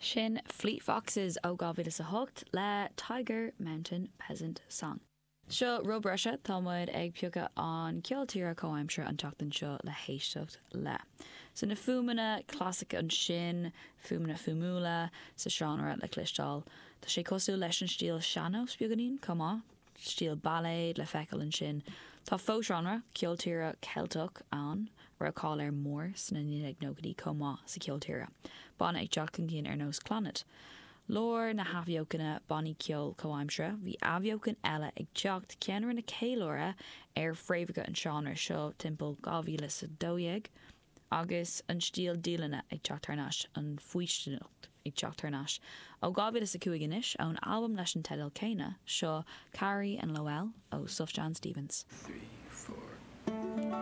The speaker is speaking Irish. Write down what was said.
Sin Fleet Foxes ó 2008 le Tiger Mountain Peasant Song. Seo rud breise, tá muid ag piocadh an ceol tíre comhaimseartha an tseachtain seo le héisteacht le. So na fuaimeanna clasaice ansin, fuaimeanna fuaimiúla sa seánra le cloisteáil. Tá sé cosúil leis an stíl sean-nós beagáinín chomh maith. Stíl bailéad le feiceáil ansin. Tá fo-seánra, ceol tíre Ceilteach, ann, a raibh cáil air mór sna 1990idí chomh maith sa cheol tíre. Banna ag teacht chun cinn ar nós Clannad. Lár na hathbheochana bannaí ceoil comhaimseartha, bhí athbheochan eile ag teacht, ceann a rinne ceiliúradh ar fréamhacha an seánra seo timpeall 2012. Agus an stíl dialainne ag teacht thar n-ais, an faoistineacht ag teacht thar n-ais. Ó 2005 anois, ón albam leis an teideal céanna, seo Carrie and Lowell ó Sufjan Stevens.